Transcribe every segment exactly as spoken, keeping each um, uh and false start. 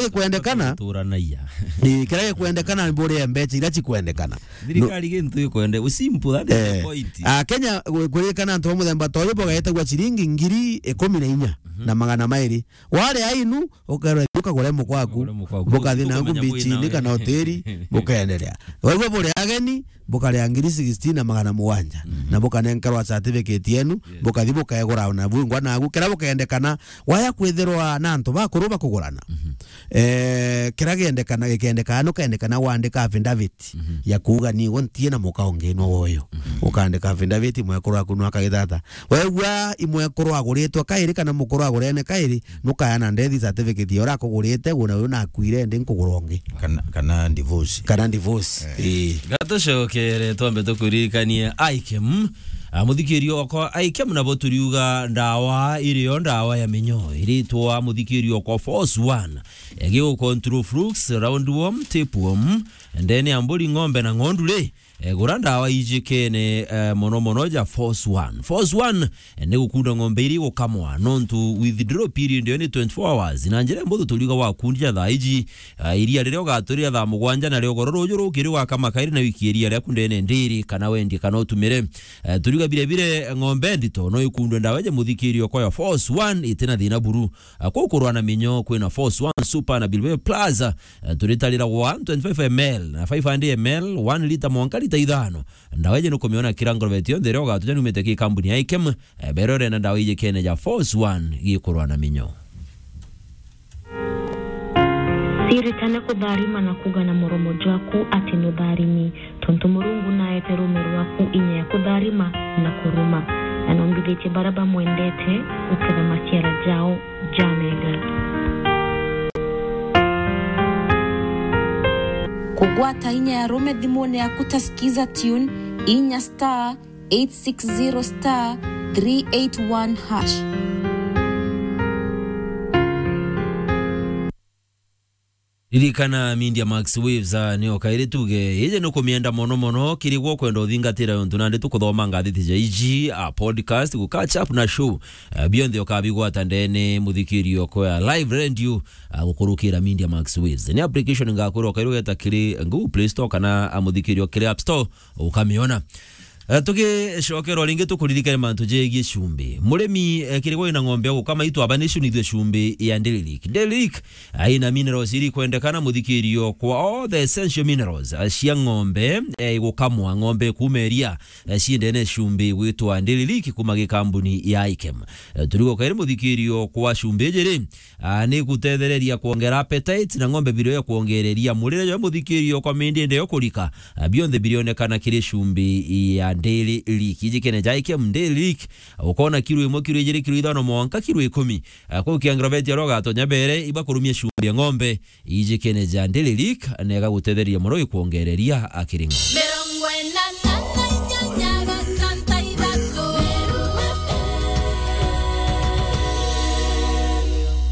gikwendekana. Turanaia. Ii, kiria gikwendekana ni buria mbecha iria cikwendekana. Thirikari gintu ikwende, u simple, that is the point. Ah, Kenya, ku-, kuririkana antu ba muthemba ta uyu bugaetagwa ciringi ngiri ikumi na inya na magana mairi. Wari ainu, ukarwa ukagure mukwaku, ukagure mukwaku, bukathi na ngu bichini kana hoteli, bukaendelea. Waigua buri ageni, bukaria ngiri sixteen na magana mugwanja, na bukanenkerwa certificate yenu, bukathi bukaegura na bwingwa nagu, kira bukendekana, waya kwithirwa na antu bakuru bakugurana. Eh, kira gendekana, gikendekana, nukendekana wandika affidavit ya kuuga, "Ni we ntie na muka ungi no woyo." Ukandika affidavit, mwekuru waku no akagitata. Wegua imwekuru aguritwe kairi kana mukuru agurene kairi, nukayana death certificate ya uria akugurite, una uyu nakuire, ndi nkugura ungi. Kana, kana divorce. Kana divorce. Eh. Ii. Gatucokere twambe tukuririkanie Ikem. Ah, muthikirio okwa Ikem, nabo turiuga ndawa irio, ndawa ya minyo. Iritwa muthikirio okwa Force One. Egi u control flukes, roundworm, tapeworm, ndene ya mburi, ng'ombe na ng'ondu ri, eh, gura ndawa ijikene, eh, mono mono ja Force One. Force One, eh, ni gukunda ng'ombe iri gukamwa, nontu withdrawal period yo ni twenty-four hours. Na njira mbuthu turiuga wakundia thaa iji, ah, iria riria ugaturira thaa mugwanja na rio goro ruju rukiri ugakama kairi na wiki iria riaku ndene ndiri kana wendie kana utumire. Eh, turiuga bire bire ng'ombe ndito no ikundwe ndawa ja muthikirio kwa ya Force One itina thina buru. Ah, kuu kurwa na minyo kwina Force One Super na Bilbao Plus. Eh, turitarira one twenty-five M L na five hundred M L, one litre mwanka litre ithano. Ndawa iji nukumiona kira ngorobeti yonthe iria ugatuja numite ki kambuni ya Ikem. Eh, bero urenda ndawa iji kene ja Force One gikurwa na minyo. Siritane kutharima na kuga na muromo jwaku ati nutharimi. Tontu Murungu naete ruume rwaku inya ya kutharima na kuruma, na nombithitie baria bamwendete guketha maciara jao ja mega. Kugwata inya ya ruume thimune yaku ta Skiza Tune, inya star eight six zero star three eight one hash. Ririkana Media Max Waves, ah, nio kairi tuge. Iji nukumienda mono mono, kiri gwo kwenda uthingatira yontu nandi tukuthoma ngathiti ja iji, ah, podcast, gu catch up na show. Ah, bionthe ukabigwata ndene muthikirio kwa live radio, ah, gukurukira Media Max Waves. Ni application ngakwira ukairi ugeta kiri Google Play Store kana, ah, muthikirio kiri App Store, ukamiona. Eh, tugicokerwa ringi tukuririkane mantu jegie cumbi. Murimi, eh, kiri gwe wina ng'ombe ya gukama, itwaba ni cunithue cumbi ya Dairy Lick. Dairy Lick, eh, ina minerals iri kwendekana muthikirio kwa all the essential minerals, eh, cia ng'ombe, eh, igukamwa, ng'ombe kuuma iria, eh, ciendene cumbi gwitwa Dairy Lick kuma gikambuni ya Ikem. Eh, turigo kairi muthikirio kwa cumbi ijiri, ah, ni gutethereria kwongera appetite na ng'ombe birio ya kwongereria murire jwa muthikirio kwa mindi ende yo kurika. Ah, bionthe birionekana kiri cumbi ya Dairy Lick. Ijikene ja Ikem Dairy Lick, ukona kiro imwe, kiro ijiri, kiro ithano, mwanka kiro ikumi. Ah, kuu kiangiro beti aria ugatonya mbere, ibakurumia cumbi ya ng'ombe. Ijikene ja Dairy Lick, na igagutethereria mono ikwongereria akiri ng'ombe. Mirongo ina na inyanya gatantu ithatu.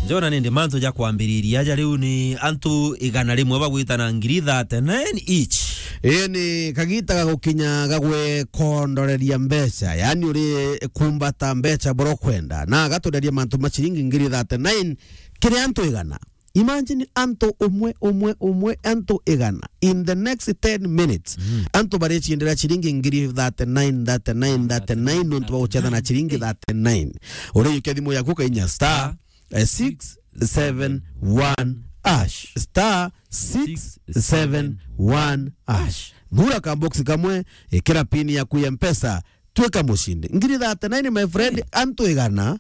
Njona nindi mantu ja kwambiriria aja riu ni antu igana rimwe bagwitana ngiri thirty-nine each. Ii ni kagita ga gukinya ga gwekondoreria mbeca, yaani uri kumbata mbeca bura ukwenda, na agatonderia mantu ma ciringi ngiri thirty-nine kiri antu igana. Imagine antu umwe, umwe, umwe, antu igana. In the next ten minutes, antu bariciendera ciringi ngiri thirty-nine, thirty-nine, thirty-nine, nontu bagucetha na ciringi thirty-nine. Urijukia thimu yaku ukainya star, eh, six seven one hash. Star six seven one hash. Thura ka box kamwe, ikira pin yaku ya Mpesa, twika mucindi. Ngiri thirty-nine, my friend, antu igana,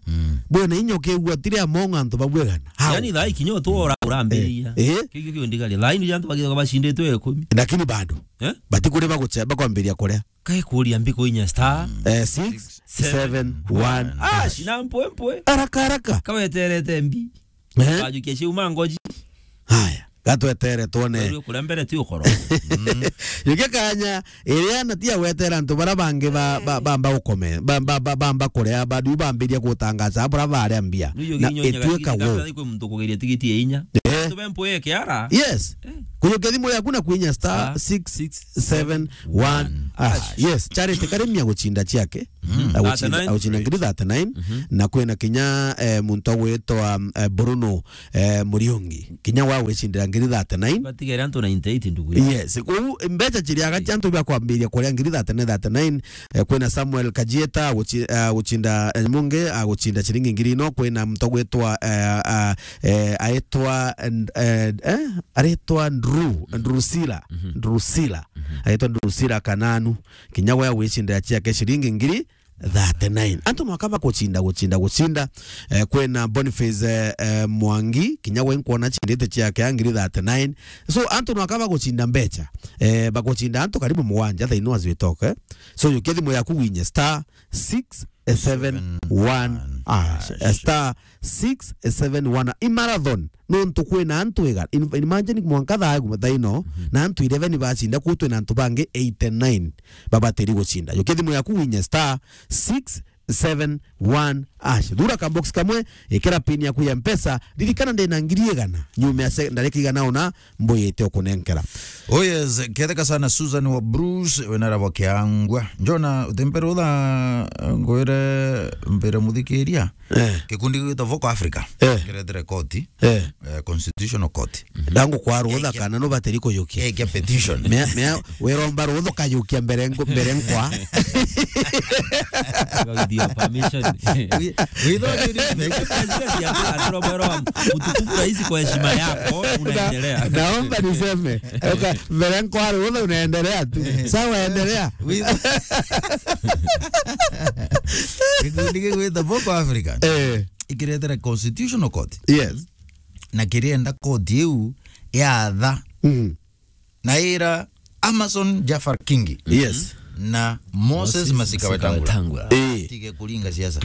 bwena inya ukigua tiri among antu babu igana. How? Yani, thaa ikinyo tu ora urambiriria. Eh, eh. Kigio kio ndigari. Thaa inu antu bagithoka bacinditwe ikumi. Lakini bado. Eh? Batikuri baguche-, bakwambiria kuria. Kae kuria mbi kuinya star. Eh, six seven one hash. Na mpwe mpwe. Haraka, haraka. Kaweterete mbi. Eh? Kajukia ciuma ngoji. Haya, gatwetere twone. Wewe kule mbere ti ukoro. Yuke kanya, iria na tia gwetera antu bara bangi ba, ba, bamba ukome, ba, ba, ba, bamba kuria, badu bambiria gutangaza, bura baria mbia. Na itwika wo. Kwi muntu kugeria tigiti ya inya. Eh. Antu bempo ye kiara. Yes. Eh. Kujukia thimu yaku na kwinya star six seven one hash. Yes, Charity Karimi aguchinda ciake. Aguchinda, aguchinda ngiri thirty-nine. Na kwina kinya, eh, muntu agwitwa, eh, Bruno, eh, Muriungi. Kinya wa gwicindira ngiri thirty-nine. Batigere antu ninety-eight ndugu. Yes, kou mbeca ciriaga cia antu bia kwambiria kuria ngiri thirty-nine, thirty-nine. Eh, kwina Samuel Kajieta aguchi-, aguchinda, eh, mungi aguchinda ciringi ngiri ino. Kwina muntu agwitwa, eh, ah, eh, aitwa, eh, eh, aritwa Ndru-, Ndrusila. Ndrusila. Aitwa Ndrusila Kananu. Kinya we agwicindira ciake ciringi ngiri thirty-nine. Antu no akaba guchinda, guchinda, guchinda. Eh, kwina Boniface, eh, eh, Mwangi, kinya we nkwona chindite ciake ya ngiri thirty-nine. So, antu no akaba guchinda mbeca. Eh, baguchinda antu karibu mugwanja thaino as we talk, eh. So, jukia thimu yaku winye star six seven one hash. Eh, star six seven one. I marathon. Nontu kwina antu ega. In-, imagine mwanka thaa, thaa ino, na antu eleven bacinda, kuu twina antu bangi eighty-nine babatiri gucinda. Jukia thimu yaku winye star six seven one hash. Thura ka box kamwe, ikira pin yaku ya Mpesa, ririkana ndina ngiri igana. Nyuma ya se-, ndarika igana ona, mbuyite ukunenkera. Oh yes, ketheka sana Susan wa Bruce, wena rabo kiangwa. Njona, utempere utha, ngwire mbere muthikiria. Eh. Gikundi gigwitwa Vocal Africa. Eh. Kiretere koti. Eh. Eh, Constitutional Court. Ndangu kwa rutha kana no bateri kuyukia. Eke petition. Mea, mea, wiromba rutha ukayukia mbere nko-, mbere nkwa. With your permission. Wi-, with all due respect. Aturomba mutukufu rais, kwa heshima yako, unaendelea. Na-, naomba niseme, oka, mbere nkwa rutha unaendelea tu. Sawa, endelea. With Gikundi gigwitwa Vocal Africa. Eh. Ikiretera Constitutional Court. Yes. Na kirienda koti iu yatha. Mm. Na ira Amason Jafar Kingi. Yes. Na Moses Moses Masika Masika Wetangula. Wetangula. Eh. Batige kuringa siasa.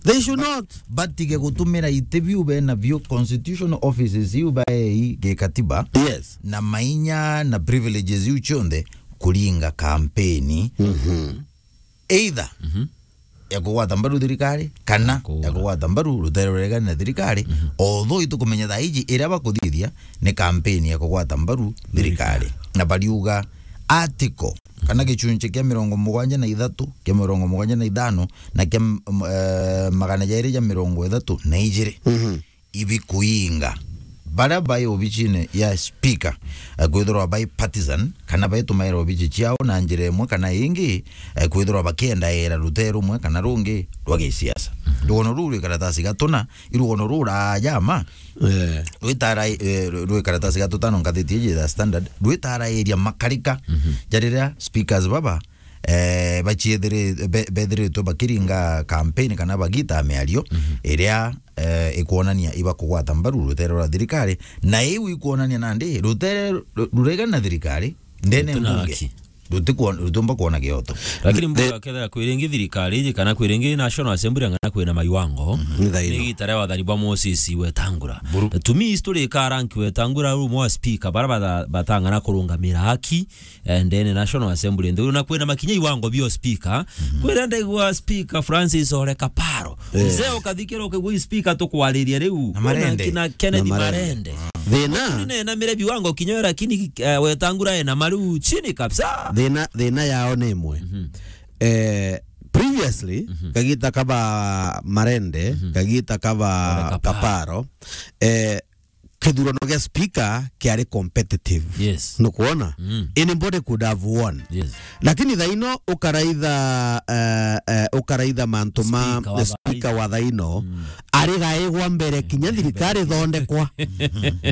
They should not. Batige gutumira iti biu bena bio, constitutional offices iu baei gikatiba. Yes. Na mainya na privileges iu cionthe kuringa kampeni. Mhm. Either ya kugwata mbaru thirikari, kana ya kugwata mbaru rutere ruregani na thirikari, although itukumenya thaa iji iria bakuthithia ni kampeni ya kugwata mbaru thirikari. Na bariuga article kana gichunchi kia mirongo mugwanja na ithatu, kia mirongo mugwanja na ithano, na kia, m-, eh, magana jairi ja mirongo ithatu na ijiri. Mhm. Ibikuinga. Baria bai obicine ya speaker, eh, kwithirwa bai partisan, kana baitumaira obici ciao na njira imwe kana ingi, eh, kwithirwa bakiendaira rutere rumwe kana rungi rwa gisiasa. Mhm. Rugono ruu rwi karatasi gatuna, i rugono ruu raaja ma, eh, rwitara, eh, rwi karatasi gatutano ngathiti iji ya Standard, rwitarairia makarika, mhm, ja riria speakers baba, eh, baciethiri-, be-, bethiritwe bakiringa campaign kana bagita miario, mhm, iria, eh, ikwonania iba kugwata mbaru rutere rwa thirikari, na iu ikwonania nandi rutere ru-, ruregana na thirikari ndene mbunge. Ruti na haki. Rutikuon-, rutiumba kuona gioto. Lakini mbuga kethira kwiringi thirikari iji kana kwiringi National Assembly, ang'ana kwina maiwango, mhm, ni thaino, ni igita ria wathani bwa Moses Wetangula. Buru. To me, history ikaranki Wetangula ru mwa speaker, bara bata-, batang'ana kurungamira haki, eh, ndene National Assembly nthuru, na kwina makinya iwango bio speaker. Mhm. Kwira ndaigua speaker Francis Ole Kaparo. Eh. Mzee ukathikira ukigua speaker tukwariria riu. Na Marende. Kina Kennedy Marende. Marende. Thina. Ni na mire biwango kinyo, lakini, eh, Wetangula ena maru chini kabisa. Thina, thina yao ni imwe. Mhm. Eh, previously, mhm, kagita kaba Marende, mhm, kagita kaba Ole Kaparo. Kaparo, eh, kithurano gia speaker kiari competitive. Yes. Nukwona? Mm. Anybody could have won. Yes. Lakini thaino ukaraitha, eh, eh, ukaraitha mantu ma speaker wa speaker wa thaino, mm, ari gaigwa mbere kinya thirikari thondekwa.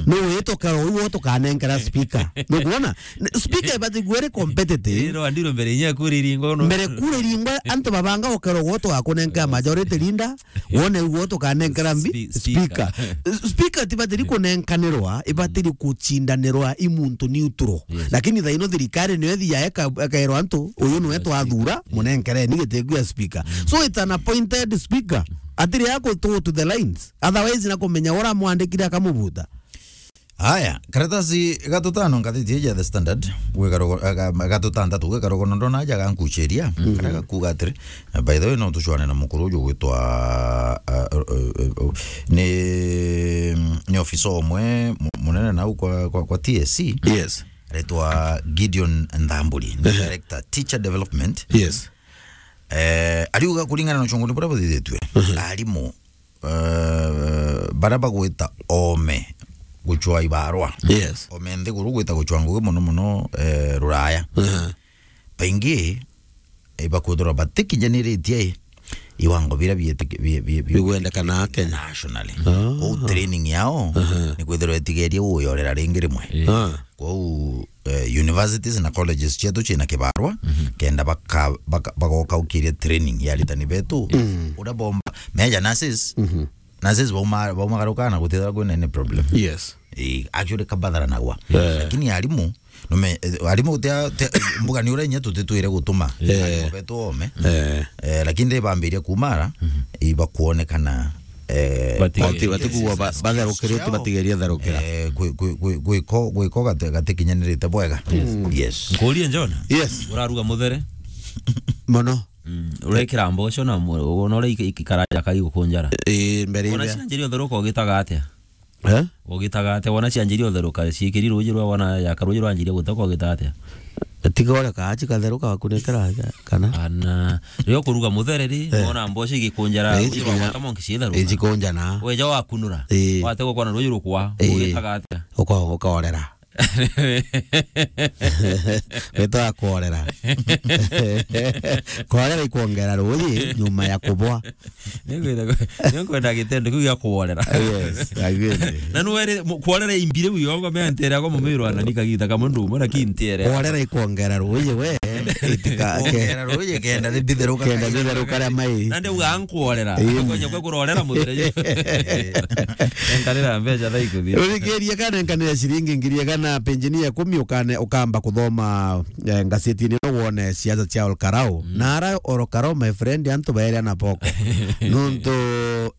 Ni witokero uyu tukanenkera speaker. Nukwona? N-, speaker ibati gwere competitive. Iro andiro mbere inya kuri ringo no. Mbere kuri ringo antu babanga ukero gwo tugakunenkera majority leader. Wone uguo tukanenkera mbi-, spe-, speaker. Speaker. Speaker tibatiri kunenkanirwa, ibatiri kuchindanirwa i muntu neutral. Yes. Lakini thaino thirikari niyo ithiaga ika-, ikairwa antu, uyu niwe twathura, yes, munenkereni giti kia speaker. Mm. So it's an appointed speaker. Atiri ya go to, to the lines. Otherwise na kumenya ura mwandikire akamubuta. Aya, karatasi gatutano ngathiti ya The Standard, gwikarogo-, ga-, ga-, gatutantatu gwikarogo nondo na aja gankucheria, mhm, kana gakuga atiri, eh, by the way, no tuchwane na mukuru uju gwitwa, uh, uh, uh, uh, ni, ni ofisa omwe mu-, munene nau kwa, kwa, kwa T S C. Yes. Aretwa Gideon Nthamburi, ni, ehe, director, teacher development. Yes. Eh, ariuga kuringana na uchunguzi buria buthithitue, mhm, arimu, eh, baria bagwita oome guchwa ibarwa. Yes. Oome nthiguru gwita guchwa ngugi mono mono, eh, Ruraya. Mhm. Baingi, eh, bakwithirwa batikinyaniritie, eh, iwango biria bietiki-, bi-, bi-, bi-, bigwendekana Kenya nationally. Ah. Kou training yao, mhm, ni kwithirwa itigerie guyorera ringi rimwe. Eh. Ah. Kwou, eh, universities na colleges cietu ciina kibarwa, mhm, kenda baka-, baka-, bagokaukiria training ya aritani betu. Mm. Uria bomba, meja nurses, mhm, nurses bauma-, baumagaruka na gutithira kwina any problem. Yes. Eh, actually, kabatharanagwa. Eh. Lakini arimu, nume, eh, arimu tia, tia, mbuga ni uria inya tutitwire gutuma, eh, arimu betu oome. Eh. Eh, lakini ribambiria kumara, mhm, ibakuonekana, eh, bati-, bati-, batigua ba-, batherukirite, ciao, batigeria therukira. Eh, gwi-, gwi-, gwi-, gwiko, gwiko gati-, gatikinyanirite bwega. Yes. Mm. Yes. Nkurie John? Yes. Uraruga muthere? Mono. Mm. Urekira mboco na mu-, wona uria iki-, ikikaraja kai gukunjara. Eh, mbere. Wona iria cianjirie utheruka ugitaga atia? Eh? Ugitaga atia? Wona cianjirie utheruka, ciikiri ruuji rwa, wona yaka ruuji rwanjirie gutoka, ugitaga atia? Tiga ureka aci katheruka wakunekera aja, kana? Ana, riria ukuruga muthere ri, eh, wona mboco igikunjara, eh, ruuji rwa igikunjara, gwata monki ciitheruka. Igikunjana. Weja wakunura. Eh. Wategwa kwana ruuji rukwa, eh, ugitaga atia? Uka-, ukaorera. Witaga kuorera. Kuorera ikwongera ruuji nyuma ya kubwa. Ningwenda, ningwenda gitendo kiu gia kuorera. Yes, I agree. Na nwere, mu-, kuorera imbi riu yongo mentere ako mumiro anani kagita kamwe ndu mwana kintiere. Kuorera ikwongera ruuji we, itika-, ke-, kuongera ruuji kenda ribitheruka, kenda ribitheruka ria mai. Na ndiuga nkuorera. Ii. Nkonya kwe kurorera muthere. Enkanira mbeca thaa ikuthira. Urikirie kana enkanira ciringi ngiri igana, penjini ya ikumi ukane, ukamba kuthoma, eh, ngazetini no wone siasa cia Olkarau. Mm. Na ara Olkarau, my friend, antu baeria na boko. Nontu,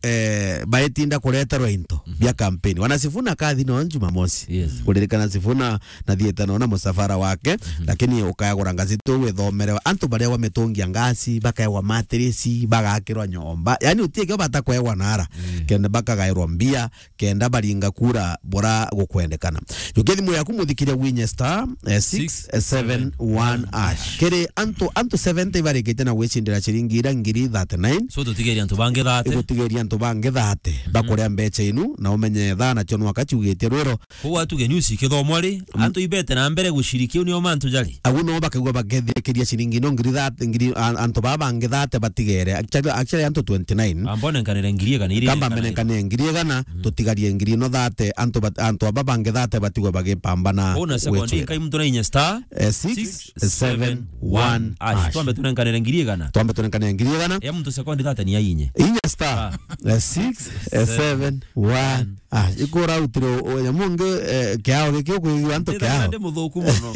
eh, baetinda kureterwa into, mhm, bia kampeni. Wana Sifuna kathi no Jumamosi. Yes. Kuririkana Sifuna nathiite nona musafara wake, mhm, lakini ukaegwa ngazeti uu withomere antu baria bametungia ngasi, bakaegwa matirisi, bagakirwa nyomba. Yaani utikio bata kuegwa nara. Mm. Kenda bakagairwa mbia, kenda baringa kura bura gukwendekana. Jukia thimu yaku muthikiria winye star, eh, six seven one hash. Kiri antu, antu seventy ibarikite na gwicindira ciringi ira ngiri thirty-nine. So tutigeria antu bangi thirty. Igutigeria antu bangi thirty. Mhm. Bakuria mbeca inu, na umenye thaa nacio nwaka ciugitie rwiro. Kou atuge news ikithomwa ri, mm, antu ibete na mbere gucirikia, u nio mantu jari. Agu no bakaigua bakethirikiria ciringi ino ngiri thate, ngiri, a-, antu baba bangi thate batigere. Actually, actually antu twenty-nine. Ambone nkanire ngiri igana iri. Kamba mbene nkanire ngiri igana, mm, tutigarie ngiri ino thate, antu bat-, antu aba bangi thate batigwe bagipambana. Kou na sekondi wetwira. Nkai muntu na inya star, eh, six seven one hash. Twambe tunenkanire ngiri igana. Twambe tunenkanire ngiri igana. Ya muntu sekondi thate ni ya inye. Inya star, ah, eh, six seven one. Ah, ikura utire o-, o-, nyamu ngi, eh, kiao giki ukwigua antu kiao. Ndi muthuku muno.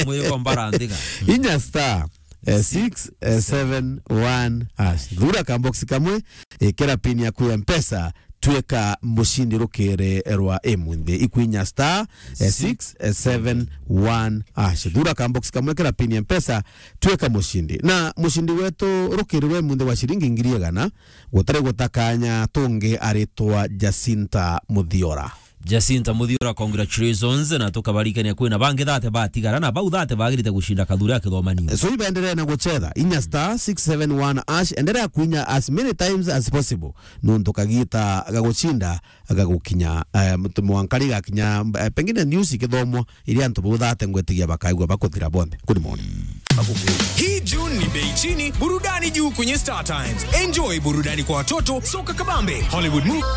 Mwiko mbara nthiga. Inya star, eh, six seven one hash. Thura ka box kamwe, ikira pin yaku ya Mpesa, tweka mucindi rukiri rwa imunthi. Ikwinya star, eh, six seven one hash. Thura ka box kamwe, ikira pin ya Mpesa, tweka mucindi. Na mucindi wetu rukiri rwa imunthi wa ciringi ngiri igana, gutari gutakanya tungi aritwa Jacinta Muthiora. Jacinta Muthiora, congratulations, na tukabarikania kwina bangi thate batigara, na bau thate bagirite gucinda kathuri akithomanio. So ibenderee na guchetha, inya star six seven one hash, endelea kuinya as many times as possible, nontu kagita ga gucinda gagukinya, eh, mtu mwanka rigakinya, eh, pengine news ikithomwa, iria antu bau thate ngwetigia bakaigua bakuthira bonthe. Good morning. Hii June ni bei chini, burudani juu kwenye Star Times. Enjoy burudani kwa watoto, soka kabambe, Hollywood movie,